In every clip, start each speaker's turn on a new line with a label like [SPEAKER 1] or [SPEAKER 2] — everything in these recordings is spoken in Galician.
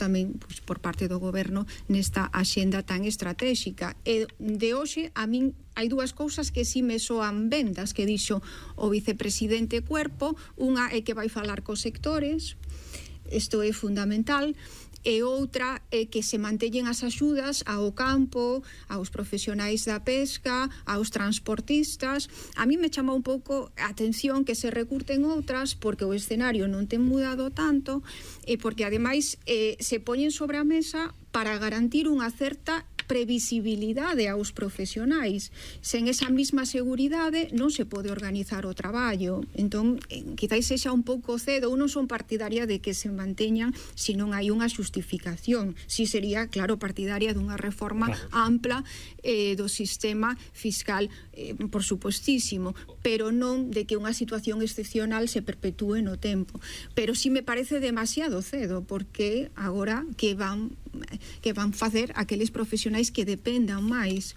[SPEAKER 1] tamén por parte do goberno nesta axenda tan estratégica. E de hoxe a min hai dúas cousas que si me soan ben das que dixo o vicepresidente Cuerpo. Unha é que vai falar cos sectores, isto é fundamental, e outra é que se manteñen as axudas ao campo, aos profesionais da pesca, aos transportistas. A mí me chama un pouco a atención que se recurten outras porque o escenario non ten mudado tanto e porque ademais se poñen sobre a mesa para garantir unha certa previsibilidade aos profesionais. Sen esa mesma seguridade non se pode organizar o traballo. Entón, quizáis sexa un pouco cedo. Eu non son partidaria de que se manteñan se non hai unha xustificación. Si sería, claro, partidaria dunha reforma ampla do sistema fiscal, por supostísimo, pero non de que unha situación excepcional se perpetúe no tempo. Pero si me parece demasiado cedo, porque agora que van facer aqueles profesionais que dependan máis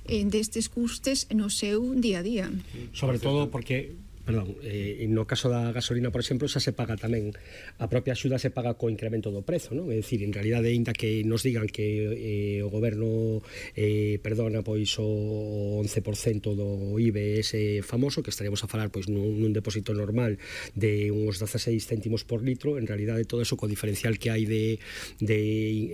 [SPEAKER 1] destes custes no seu día a día.
[SPEAKER 2] Sobre todo porque no caso da gasolina, por exemplo, xa se paga tamén, a propia axuda se paga co incremento do prezo, non? É dicir, en realidade, ainda que nos digan que o goberno perdona pois o 11% do IBE ese famoso, que estaríamos a falar pois nun depósito normal de uns 16 céntimos por litro, en realidade todo eso co diferencial que hai de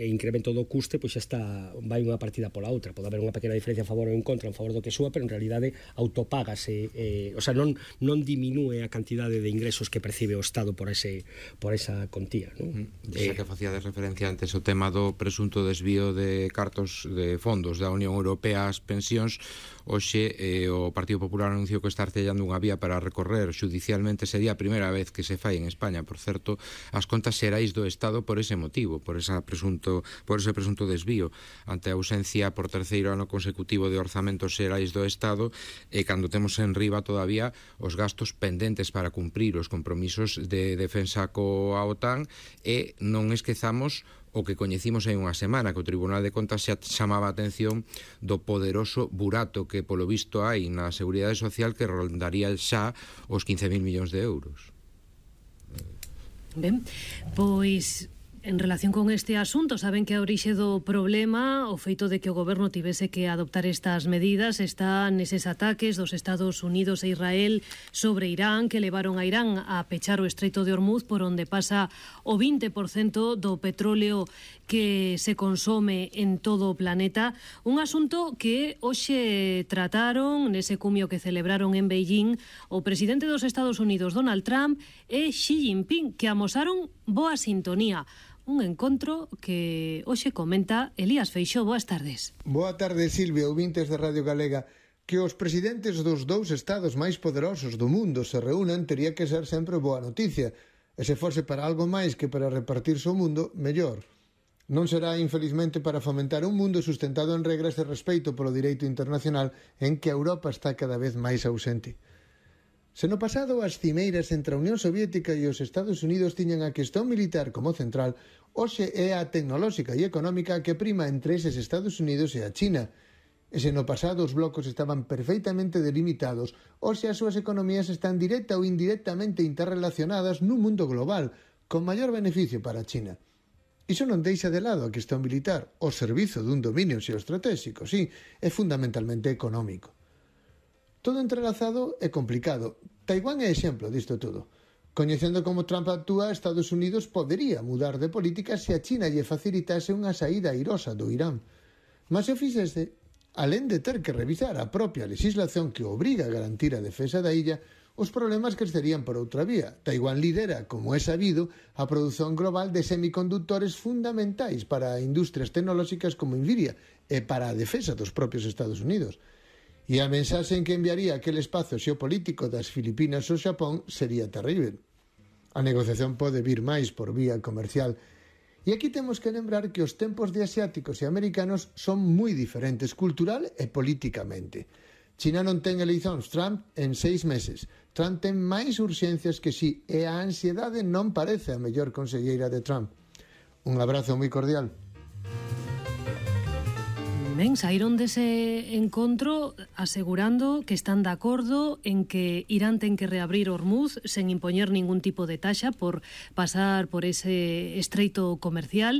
[SPEAKER 2] incremento do custe, pois xa está, vai unha partida pola outra. Pode haber unha pequena diferencia a favor ou en contra, en favor do que súa, pero en realidade autopágase, o sea, non diminúe a cantidade de ingresos que percibe o Estado por esa contía, non?
[SPEAKER 3] Xa que facía de referencia antes o tema do presunto desvío de cartos de fondos da Unión Europea ás pensións, hoxe o Partido Popular anunciou que está artellando unha vía para recorrer xudicialmente. Sería a primeira vez que se fai en España, por certo, as contas xerais do Estado por ese motivo, por ese presunto desvío, ante a ausencia por terceiro ano consecutivo de orzamentos xerais do Estado, e cando temos en riba todavía os gastos pendentes para cumprir os compromisos de defensa coa OTAN, e non esquezamos o que coñecimos hai unha semana, que o Tribunal de Contas xa chamaba a atención do poderoso burato que polo visto hai na Seguridade Social, que rondaría xa os 15.000 millóns de euros.
[SPEAKER 4] Ben, pois en relación con este asunto, saben que a orixe do problema, o feito de que o goberno tivese que adoptar estas medidas, está neses ataques dos Estados Unidos e Israel sobre Irán, que levaron a Irán a pechar o Estreito de Hormuz, por onde pasa o 20% do petróleo que se consome en todo o planeta. Un asunto que hoxe trataron nese cumio que celebraron en Beijing o presidente dos Estados Unidos, Donald Trump, e Xi Jinping, que amosaron boa sintonía. Un encontro que hoxe comenta Elías Feixóo. Boas tardes.
[SPEAKER 5] Boa tarde, Silvia, ouvintes de Radio Galega. Que os presidentes dos dous estados máis poderosos do mundo se reúnan tería que ser sempre boa noticia. E se fose para algo máis que para repartirse o mundo, mellor. Non será, infelizmente, para fomentar un mundo sustentado en regras de respeito polo direito internacional en que a Europa está cada vez máis ausente. Se no pasado as cimeiras entre a Unión Soviética e os Estados Unidos tiñan a cuestión militar como central, hoxe é a tecnolóxica e económica que prima entre eses Estados Unidos e a China. E se no pasado os blocos estaban perfeitamente delimitados, hoxe as súas economías están directa ou indirectamente interrelacionadas nun mundo global, con maior beneficio para a China. Iso non deixa de lado a cuestión militar, o servizo dun dominio xeoestratéxico, sí, é fundamentalmente económico. Todo entrelazado é complicado. Taiwán é exemplo disto todo. Coñecendo como Trump actúa, Estados Unidos podería mudar de política se a China lle facilitase unha saída airosa do Irán. Mas se o fixese, alén de ter que revisar a propia legislación que obriga a garantir a defensa da illa, os problemas crecerían por outra vía. Taiwán lidera, como é sabido, a produción global de semicondutores fundamentais para industrias tecnolóxicas como Nvidia e para a defensa dos propios Estados Unidos. E a mensaxe en que enviaría aquel espazo xeopolítico das Filipinas ao Xapón sería terrible. A negociación pode vir máis por vía comercial. E aquí temos que lembrar que os tempos de asiáticos e americanos son moi diferentes cultural e políticamente. China non ten eleicións Trump en 6 meses. Trump ten máis urxencias que si, e a ansiedade non parece a mellor conselleira de Trump. Un abrazo moi cordial.
[SPEAKER 4] Ben, saíron dese encontro asegurando que están de acordo en que Irán ten que reabrir Hormuz sen impoñer ningún tipo de taxa por pasar por ese estreito comercial,